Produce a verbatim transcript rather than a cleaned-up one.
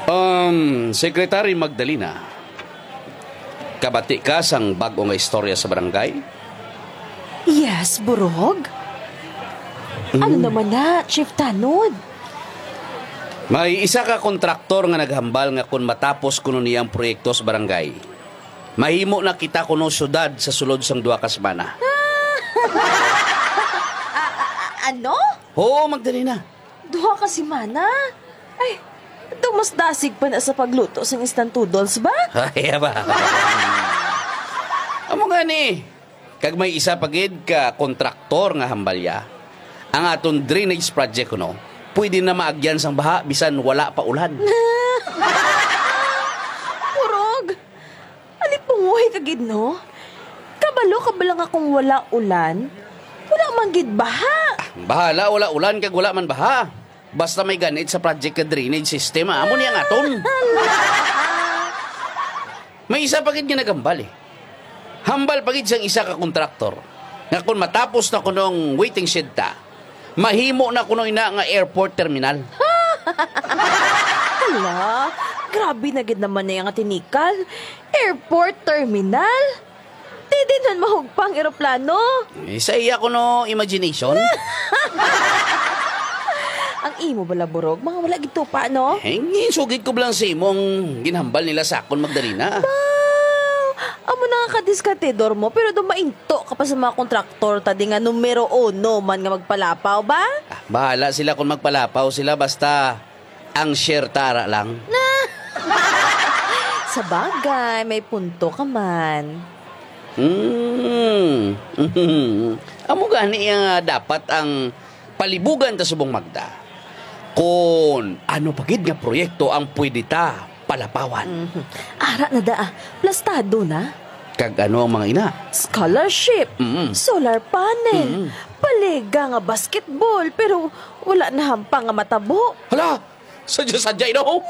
Um, Secretary Magdalena, kabati ka sang bag-o nga istorya sa barangay? Yes, Burog. Ano Mm. naman na, Chief Tanod? May isa ka kontraktor nga naghambal nga kon matapos kuno niya ang proyekto sa barangay, mahimo na kita kuno syudad sa sulod sang duha ka semana. A-, a-, a-, ano? Oo, Magdalena. Duha ka semana? Ay, daw mas dasig pa na sa pagluto sang instant noodles ba? Ay, ba? Amo nga ni, kag may isa pa gid ka kontraktor nga hambalya. Ang aton drainage project kuno, pwede na maagyan sang baha bisan wala pa ulan. Purog! Alipungoy ka gid, no? Kabalo ka bala nga kung wala ulan, wala man gid baha. Bahala, wala ulan kag wala man baha. Basta may ganit sa project ka drainage system, ah. Amo ni ang aton. May isa pa gid nga nagambal, eh. Hambal pa gid sang isa ka kontraktor nga kung matapos na kunong waiting shed ta, mahimo na kuno ina nga airport terminal. Hala, grabe na gid naman na nga tinikal. Airport terminal? Di din man mahugpa ang eroplano. Eh, sa iya kuno imagination. Ang imo bala, Burog, mga wala gid tupa, no? Eh, ginsugid ko lang sa imo ang ginhambal nila sa akon, Magdalena. Ba, amo na nga kadiskatidor mo, pero dumainto ka pa sa mga kontraktor ta di nga numero uno man nga magpalapaw, ba? Ah, bahala sila kung magpalapaw sila, basta ang share tara lang. Sa bagay, may punto ka man. Hmm. Amo gani nga dapat ang palibugan ta subong Magda. Kon ano pa gid nga proyekto ang pwede ta palapawan? Mhm. Ara na da, ah. Plastado na. Kag ano ang mga ina? Scholarship, Mm. solar panel, Mm. paliga nga basketball, pero wala na hampang nga matabo. Hala! Sadya-sadya, no?